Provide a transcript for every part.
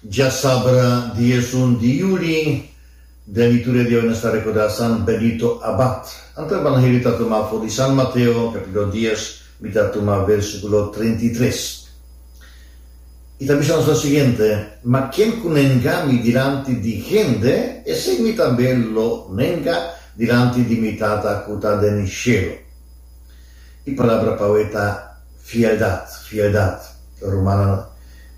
Djasabra 11 di yuli, den liturgia di awe nos ta rekordá San Benito Abad. Anto evangelio ta tumá for di San Mateo, kapítulo dies, mi ta tuma versíkulo 33. I ta bisa nos lo siguiente, Ma ken ku nenga mi dilanti di hende, esei mi tambe lo nenga dilanti di mi Tata ku ta den shelu. E palabra pa awe ta fieldat, fieldat. Rumannan,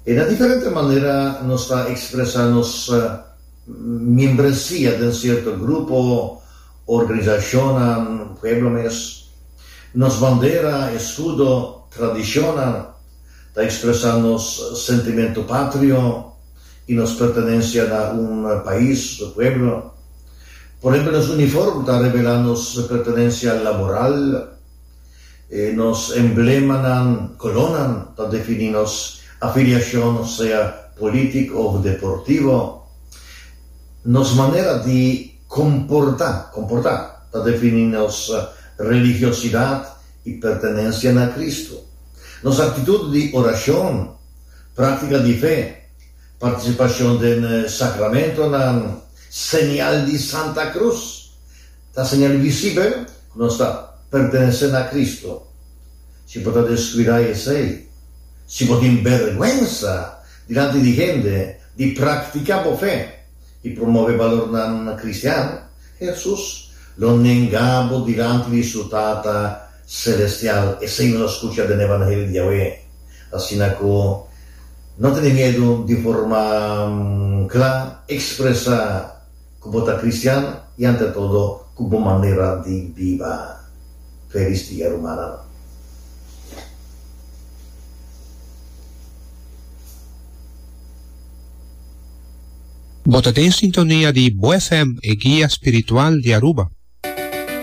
e na diferente manera nos ta ekspresá nos miembresia den sierto grupo, organisashonnan, pueblo mes. Nos bandera, eskudo, tradishonnan ta ekspresá nos sentimentu patrio i nos pertenensia na un pais o pueblo. Por ehempel, nos uniform ta revelá nos pertenensia laboral, nos emblemanan, kolónan, ta definí nos afiliashon sea polítik òf deportivo. Nos manera di komportá, komportá, ta definí nos religiosidat i pertenensia na Kristu. Nos aktitut di orashon, práktika di fe, partisipashon den sakramentonan, señal di Santa Krus, ta señal visibel ku nos ta pertenesé na Kristu. Si bo ta deskuidá esei, si bo tin bèrgwensa dilanti di hende di praktiká bo fe i promové balornan kristian, Hesus lo nenga bo dilanti di su Tata selestial. Esei nos a skucha den Evangelio di awe. Asina ku no tene miedu di forma kla ekspresá ku bo ta kristian i ante todo ku bo manera di biba. Felis dia rumannan. Bo ta den sintonia di Bo FM, e guia spiritual di Aruba.